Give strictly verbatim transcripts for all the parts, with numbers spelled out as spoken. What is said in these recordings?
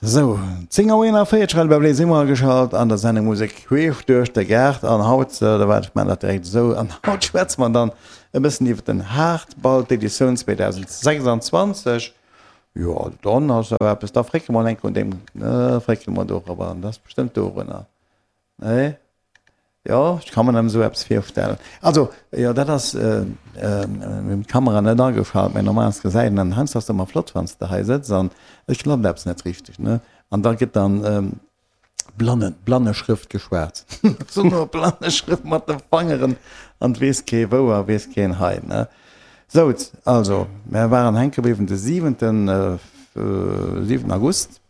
Sou, zéng Auer eenanvéierzeg hei bei Bléi si mer ageschalt an der Sendung Musek queesch duerch de Gaart. An haut, da waart, ech maachen dat direkt esou, an haut schwätze mer dann e bëssen iwwer den Haardball, d'Editioun zweedausendsechsanzwanzeg. Jo, dann ass awer eppes, da frécke mer enk un deem, fréckele mer dorobber an dat ass bestëmmt dorunner. Nee? Jo, ech ka mer nëmmen esou eppes virstellen. Also, jo, dat ass, mir hunn d'Kamera net ageschalt, mä normalerweis gesäit een an heiansdo ass et ëmmer flott, wann s de hei sëtz an et klappt eppes net richteg, ne? An da gëtt dann blanne, Blanneschrëft geschwat. Esou no Blanneschrëft mat de Fangeren an et weess kee wou a weess keen hei, ne? Sou, also, mär waren hänke bliwwen de siwenten, siwenten August.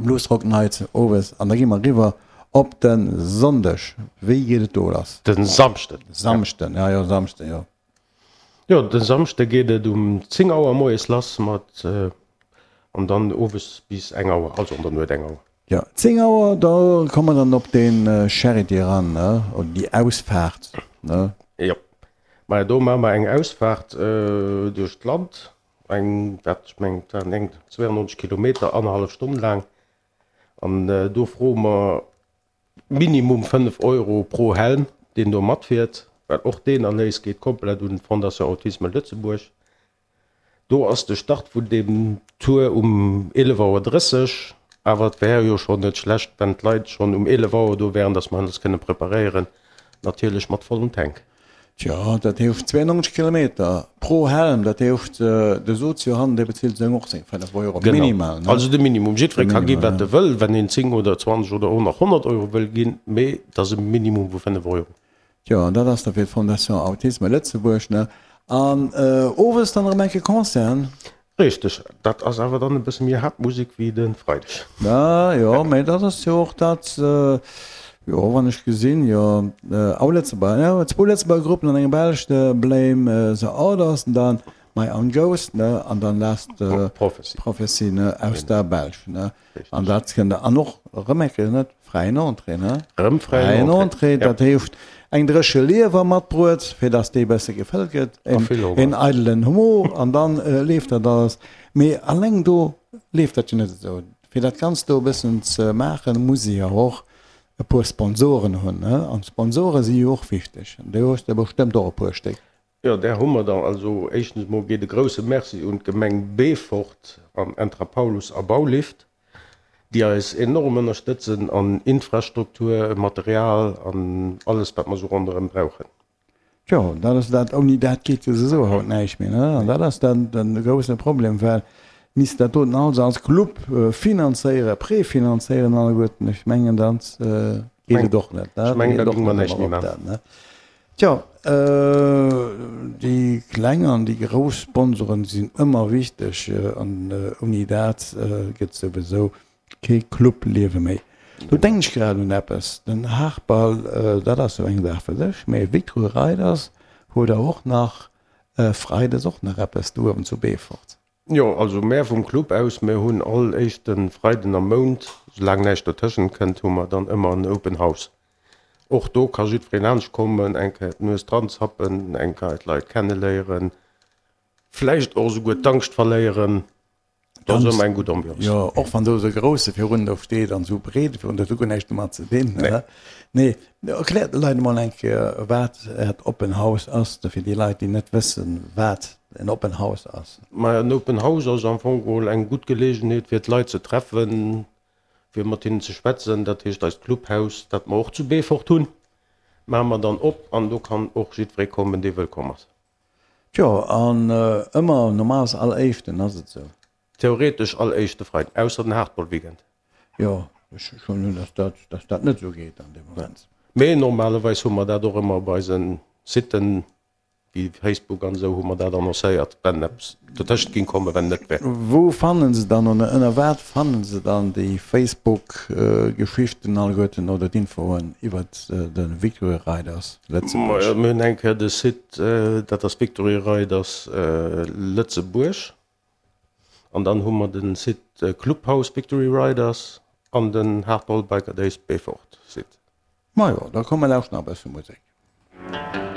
Blues Rock Night owes an da gi mer eriwwer op de Sonndeg. Wéi geet et do lass? Den Samschden. Samschden, ja jo, Samschden, jo. Jo, den Samschde geet et um zéng Auer moies lass mat an dann owes bis eng Auer, also an der Nuet eng Auer. Jo, zéng Auer, da komme mer dann op den Charity eran, ne, oder déi Ausfaart, ne? Jo, maja do maache mer eng Ausfaart duerch d'Land. Eng, wat ech mengen, et waren eng zweiundneunzeg Kilometer, annerhallef Stonn laang. An do froe mer minimum fënnef Euro pro Helm, deen do matfiert, well och deen Erléis geet komplett un d'Fondation Autisme Lëtzebuerg. Do ass de Start vun deem Tour um eelef Auer drësseg, awer et wär jo schonn net schlecht, wenn d'Leit schonn um eelef Auer do wären, dass mer eis kënne preparéieren, natierlech mat vollem Tank. Tjo, dat heescht zweiundneunzeg Kilometer pro Helm, dat heescht de Sozio hannen, dee bezilt seng och seng fënnef Euro minimal, ne? Also de Minimum. Jiddweree ka gi wat e wëll, wenn een zéng oder zwanzeg oder och nach honnert Euro wëll ginn, mee et ass e Minimum vu fënnef Euro. Tjo, an dat ass da fir d'Fondation Autisme Lëtzebuerg, ne? An owes dann erëm eng Kéier Concert? Richteg, dat ass awer dann e bësse méi haart Musek wéi de Freideg. Ah jo, mä dat ass jo och dat, jo wann ech gesinn, jo au Lëtzebuerger, jo zwou Lëtzebuerger Gruppen an eng belsch, de Blame the Orders an dann My Own Ghost, ne, an dann Last Prophecy, ne, aus der Belsch, ne. An dat kënnt der, an och erëm eng Kéier, net fräien Entrée, ne? Erëm fräien Entrée, dat heescht eng dréche Liewer matbruet, fir dass déi e bësse gefëllt gëtt, een eidelen Humor, an dann leeft dat alles. Mee alleng do leeft dat jo net esou. Fir dat Ganzt do e bëssen ze maachen, muss ee jo och e puer Sponsoren hunn, ne? An d'Sponsore si jo och wichteg. An do hues de bestëmmt och e puer Stéck. Jo, där hu mer der. Also éischtens emol geet e grouse Merci un d'Gemeng Beefort an Entra Paulus a Baulift, déi eis enorm ënnerstëtzen an Infrastruktur, Material an alles, wat mer esou ronderëm brauchen. Tjo, dat ass dat, ouni dat geet jo souwisou haut näischt méi, ne? An dat ass dann de grousse Problem, well misst dat doten alles als Club finanzéieren, prefinanzéieren alleguerten, ech mengen, da geet et och net, ne? Ech mengen, da géinge mer näischt méi maachen. Tjo, déi kleng an déi grouss Sponsoren sinn ëmmer wichteg an ouni dat gëtt souwisou kee Clubliewe méi. Do denken ech grad un eppes, den Haarball, dat ass jo eng Saach fir sech, mee Victory Riders huet der och nach freides och nach eppes do uewen zu Beefort. Jo, also mär vum Club aus, mär hunn all éischte Freiden am Mount, soulaang näischt dotëschent kënnt, hu mer dann ëmmer en Open House. Och do ka jiddwereen laanscht kommen, eng Kéier d'Nues dran zappen, eng Kéier d'Leit kenneléieren, vläicht och esouguer d'Angscht verléieren. Do ass ëmmer eng gutt Ambiance. Jo, och wann do esou e grousse virun do steet an esou breet virun, dat huet guer näischt domat ze dinn. Nee. Nee, erkläert de Leit emol eng Kéier, wat Äert Open House ass, fir déi Leit, déi net wëssen, wat en Open House ass. Maja, en Open House ass am Fong geholl eng gutt Geleegenheet, fir d'Leit ze treffen, fir mat hinnen ze schwätzen. Dat heescht, eist Clubhaus, dat mer och zu Beefort hunn, maache mer dann op an do kann och jiddweree kommen, dee wëllkomm ass. Tjo, an ëmmer normales all éischten, ass et esou? Theoretesch all éischte Freiden, ausser den Hardball-Weekend. Jo, ech huelen un, dass dat, dass dat net esou geet an deem Moment. Mee normalerweis hu mer dat och ëmmer op eise Siten. Wéi Facebook an esou hu mer dat annoncéiert, wenn eppes dotëschent ging kommen, wenn net wär. Wou fannen se dann oder ënner wat fannen se dann déi Facebook Geschichten alleguerten oder d'Infoen iwwert de Victory Riders Lëtzebuerg? Mir hunn eng Kéier de Site, dat ass Victory Riders Lëtzebuerg an dann hu mer de Site Clubhouse Victory Riders an den Hardball Biker Days Beefort Site. Majo, da komm mer lauschten nach e bësse Musek.